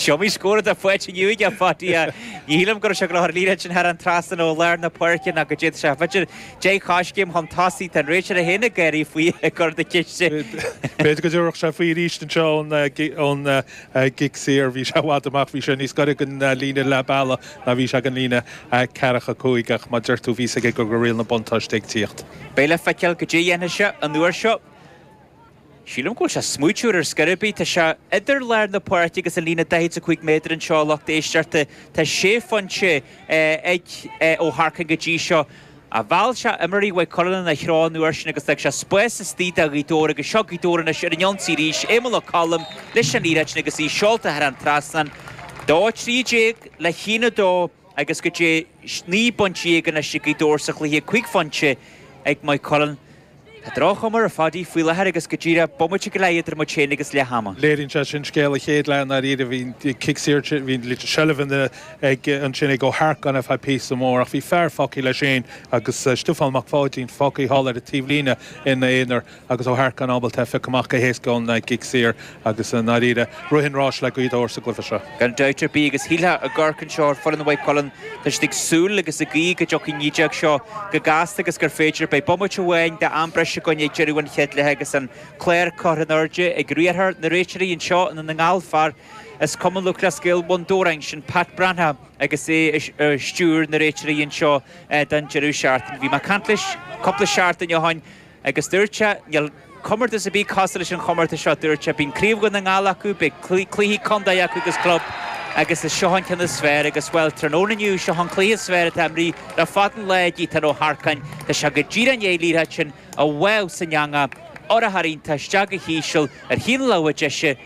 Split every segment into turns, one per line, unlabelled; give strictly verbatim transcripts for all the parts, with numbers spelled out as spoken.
Is iomaí scór atá faighte inniu aige, a Phaidí. Ní shílim go raibh sé ag dul ar líne sin thar an trasnán ó lár na páirce ná go dtéadh sé b'fhéidir deich choiscéim chun tosaigh. Tá an réiteoir é féin ag gáirí faoi ag cur na ceiste.
B'fhéidir go dtabharfadh sé faoi arís anseo ón gcic saor. Bhí sé i bhfad amach, bhí sé níos gaire don líne leath bealaigh ná bhí sé don líne ceathracha cúig ach mar a deir tú bhí a fhios aige go raibh riail na buntáiste ag tíocht.
Beidh le feiceáil goidé a dhéanfaidh sé an uair seo. Sílim go bhfuil sé smaoitiúil ar scor ar bith. Tá sé idir lár na páirce agus an líne daichead is a cúig méadar anseo, a lucht éisteachta. Tá sé phointe ag Ó hEarcáin go dtí seo. Ach mheall sé imreoirí Mhaigh Cuilinn ina threo an uair sin agus d'fhág sé spás istigh do Ghaoth Dobhair agus seo Gaoth Dobhair anois ar an ionsaí arís. Éamonn Ó Colm leis an liathróid sin agus í seolta thar an trasnán. Dó a trí déag le haon a dó agus go dtí naoi bpointe déag anois ag Gaoth Dobhair sa chluiche, cúig phointe ag Maigh Cuilinn. Tá droch-chuma air a Phaidí faoi láthair agus go díreach bomaite go leith idir muid féin agus leath ama.
Léiríonn sé sin scéal an chéad leath i ndáiríre. Bhí an cic saor, bhí an seilbh ag ansin ag Ó hEarcáin ar feadh píosa mór ach bhí fear fágtha leis féin agus Stiofán Mac Pháidín fágtha thall ar an taobhlíne ina aonar agus Ó hEarcáin ábalta é a phiocadh amach go héasca ón gcic saor agus i ndáiríre rith an ráis le Gaoth Dobhair sa gcluiche seo.
Gan dabht ar bith agus shílfeá ag amharc anseo ar foireann Mhaigh Cuilinn, tá siad ag súil agus ag guí go dtiocfaidh an naoi déag seo go gasta agus gur féidir, beidh bomaite amháin d'am breise againn ag deireadh an chéad leatha agus an clár curtha in airde ag riarthóir na réiteoirí anseo i nDún na nGall, fear as Cumann Lúthchleas Gael Bhun Dobhráin, sin Pat Breathnach agus é ag stiúir na réiteoirí anseo don deireadh seachtaine. Bhí mé ag caint leis cúpla seachtain ó shin agus dúirt sé, níl comórtas ar bith cosúil leis an chomórtas seo, dúirt sé, bíonn Craobh Dhún na nGall acu, beidh cluichí contae acu agus club agus is seo an ceann is fearr agus, bhuel, tráthnóna inniu, seo an cluiche is fearr atá imrithe le fada an lá ag Ethan Ó hEarcáin. Tá sé go díreach i ndiaidh an liathróid sin a bháthadh san eangach, urchar iontach isteach go híseal ar thaobh na láimhe deise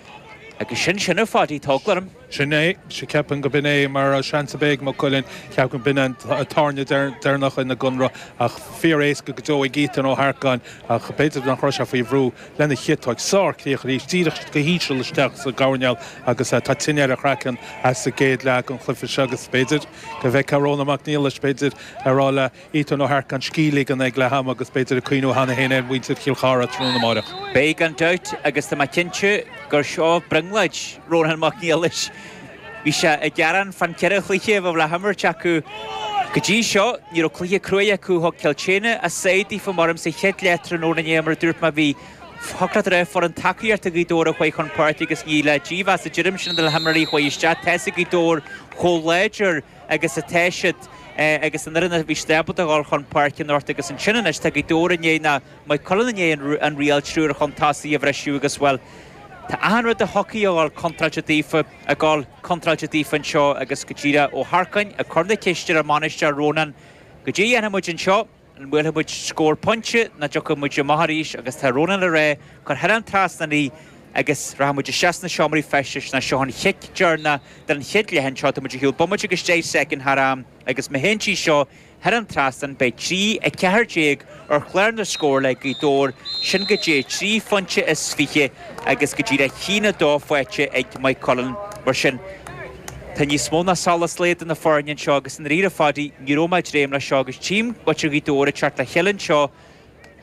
agus sin sin a Phaidí, tá eagla orm.
Sin é, sea, ceapaim go b'in é mar seans a bheidh ag Maigh Cuilinn, ceapaim go b'in an tairne deireanach ina gconradh ach fíor-éasca go deo ag Ethan Ó hEarcáin ach b'fhéidir nach raibh sé faoi bhrú lena chiotóig. Sár-chríoch arís, díreach go híseal isteach sa gcoirnéal agus tá tine ar a chraiceann as an gcéad leath den chluiche seo agus b'fhéidir go bhfeicfeá Rónán Mac Niallais, b'fhéidir, ag rá le Ethan Ó hEarcáin scíth a ligean ag leath ama agus b'fhéidir ag cuimhniú cheana féin ar mhuintir Chill Chartha tráthnóna amárach.
Beidh gan dabht agus tá mé cinnte gur seo brionglóid Rónán Mac Niallais. Bhí sé ag gearán fán ceithre chluiche a bheadh le himirt acu go dtí seo. Ní raibh cluiche cruaidh acu. Thug Cill tSéadhna a sáith daofa mar sa chéad leath tráthnóna inné mar a dúirt mé bhí thiocfadh leat a rá foireann tacaíochta Ghaoth Dobhair a chuaigh chun páirce agus ní le dímheas a deirim sin do na himreoirí a chuaigh isteach. Tá fhios ag Gaoth Dobhair chomh láidir agus atá siad agus an fhoireann a bhí siad ábalta a dhul chun páirce anocht agus ansin anois tá Gaoth Dobhair i ndiaidh ná Maigh Cuilinn i ndiaidh an riail triúr chun tosaigh a bhriseadh agus bhuel tá achan rud a thiocfaidh a dhul contráilte daofa ag dul contráilte daofa anseo agus go díreach Ó hEarcáin ag cur na ceiste ar an mbainisteoir Rónán goidé a dhéanfaidh muid anseo, an mbuailfidh muid scór pointe nó dtiocfaidh muid amach arís agus tá Rónán ag rá cuir thar an trasnán í agus rachaidh muid isteach sna seomraí feistis ná seo an chic deireanach den chéad leath anseo tá muid ar shiúl bomaite agus deich soicind thar am agus má théann sí seo thar an trasnán beidh trí a ceathair déag ar chlár na scór le Gaoth Dobhair, sin go dtí trí phointe is fiche agus go díreach a haon a dó faighte ag Maigh Cuilinn. Mar sin, tá níos mó ná solas lae idir na foirne anseo agus i ndáiríre a Phaidí, ní raibh mé ag dréim leis seo agus tchím muintir Ghaoth Dobhair ag teacht le chéile anseo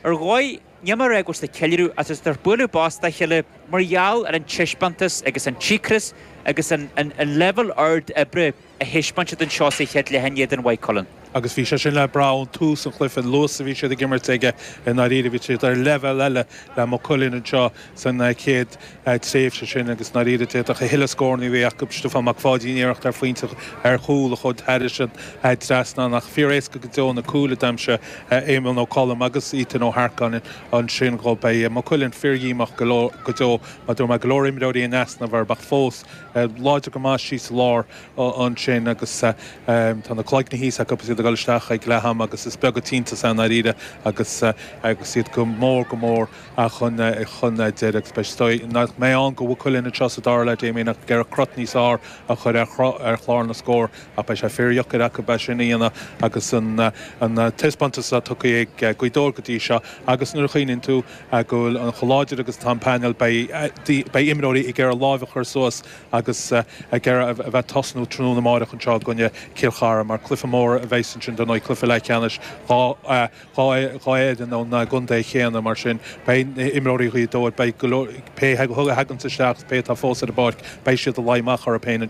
ar dhóigh, níl mé ag rá go bhfuil siad ag ceiliúradh ach tá siad ag bualadh bos dá chéile mar gheall ar an taispeántas agus an chíocras agus an leibhéal ard oibre a thaispeáin siad anseo sa chéad leath in éadan Mhaigh Cuilinn.
Agus bhí sé sin le brath ón tús an chluiche, an luas a bhí siad ag imirt aige i ndáiríre, bhí siad ar leibhéal eile le Maigh Cuilinn anseo san chéad tréimhse sin agus i ndáiríre d'fhéadfadh a thuilleadh scóranna a bheith acu. Stiofán Mac Pháidín iarracht ar phointe ar chúl a chuaigh thairis an trasnán ach fíor-éasca go deo na cúil a d'aimsigh Éamonn Ó Colm agus Ethan Ó hEarcáin ansin dhó. Beidh Maigh Cuilinn fíordhíomách go deo mar dúirt mé go leor imreoirí in easnamh orthu ach fós láidir go maith síos sa lár ansin agus tá na cloigne thíos acu agus iad ag dul isteach ag leath ama agus is beag an t-iontas é i ndáiríre agus agus iad go mór go mór chun chun deiridh agus beidh is dóigh nach mbeidh ann do Mhaigh Cuilinn anseo sa dara leath Damien ach ag iarraidh crot níos fearr a chur ar ar chlár na scór ach beidh sé fíordheacair acu é sin a dhéanamh agus an an taispeántas atá tugtha ag Gaoth Dobhair go dtí seo agus nuair a chuimhníonn tú go bhfuil an chomh láidir agus atá an painéal beidh beidh imreoirí ag iarraidh lámh a chur suas agus ag iarraidh a bheith ag tosnú tráthnóna amáireach anseo i gcoinne Cill Chartha mar cluiche mór a bheidh agus ansin don cluiche leathcheannais dhá fhoireann ón gcontae chéanna mar sin beidh imreoirí Ghaoth Dobhair beidh pé thagann isteach pé atá fós ar an bpáirc beidh siad ag luí amach orthu féin.